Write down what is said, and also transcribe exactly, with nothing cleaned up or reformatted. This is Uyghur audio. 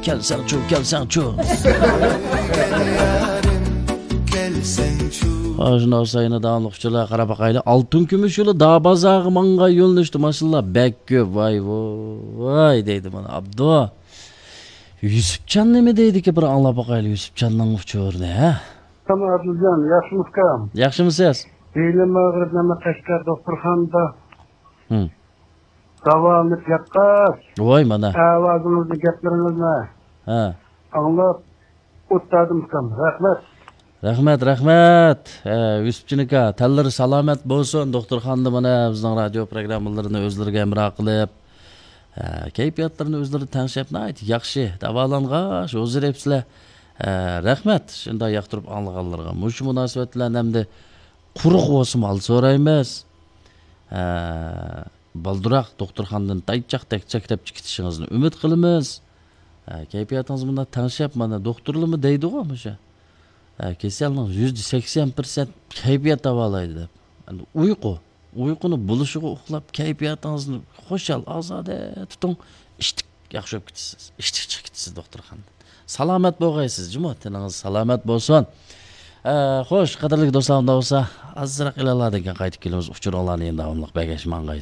كەلسەڭچۇ، كەلسەڭچۇ. ھە، شۇنداق بولسا يەنە داۋاملىق ئۇچۇرلارغا قاراپ باقايلى. ئالتۇن كۈمۈش يولى دابازاغا ماڭغان يۆنىلىشتە ماشىنىلار بەك كۆپ. ۋاي، ۋاي دەيدۇ مانا ئابدۇ. يۈسۈپجان نېمە دەيدىكى، بىر ئاڭلاپ باقايلى يۈسۈپجاننىڭ ئۇچۇرىنى، ھە؟ ساڭا ئادىلجان، ياخشىمۇ ئۇكام؟ ياخشىمۇسىز؟ بېلىم ئاغرىپ، مانا قەشقەر دوختۇرخانىدا ھىم. داۋالىنىپ ياتقاچ، ۋاي مانا. ئاۋازىڭىزنى، گەپلىرىڭىزنى ھە. ئاڭلاپ ئولتۇردۇم ئۇكام. رەھمەت. رەھمەت، رەھمەت. ھە، يۈسۈپجان ئاكا، تەنلىرى سالامەت بولسۇن. دوختۇرخانىدا مانا بىزنىڭ رادىيو پروگراممىلىرىنى ئۆزلىرىگە ھەمراھ قىلىپ، ھە، كەيپىياتلىرىنى ئۆزلىرى تەڭشەپ، ناھايىتى ياخشى داۋالانغاچ ھۇزۇر ئېپسىلە. ھە، رەھمەت، شۇنداق ياقتۇرۇپ ئاڭلىغانلىرىغا. مۇشۇ مۇناسىۋەت بىلەن ئەمدى قۇرۇق بولسىمۇ ھال سورايمىز. ھە، بالدۇراق دوختۇرخانىدىن تايچاق تەكچەك دەپ چىقىشىڭىزنى ئۈمىد قىلىمىز. ھە، كەيپىياتىڭىز مۇنداق تەڭشەپ، مانا، دوختۇرلىرىمۇ دەيدىغۇ مۇشۇ. ھە، كېسەلنىڭ يۈزدە سەكسەن پىرسەنت كەيپىيات داۋالايدۇ دەپ. ئەمدى ئۇيقۇ. ئۇيقۇنى بولۇشىغا ئۇخلاپ، كەيپىياتىڭىزنى خۇشال، ئازادە تۇتۇڭ. ئىشتىك ياخشى بولۇپ كېتىسىز. ئىشتىك چىقىپ كېتىسىز دوختۇرخانىدىن. سالامەت بولغايسىز، جۇمۇ. تېنىڭىز سالامەت بولسۇن. ئە، خوش، قەدىرلىك دوستلار، ئۇنداق بولسا، ئازراق ئېلانلاردىن كېيىن قايتىپ كېلىمىز. ئۇچۇرۇڭلارنى يەنە داۋاملىق بەرگەچ ماڭغايسىز.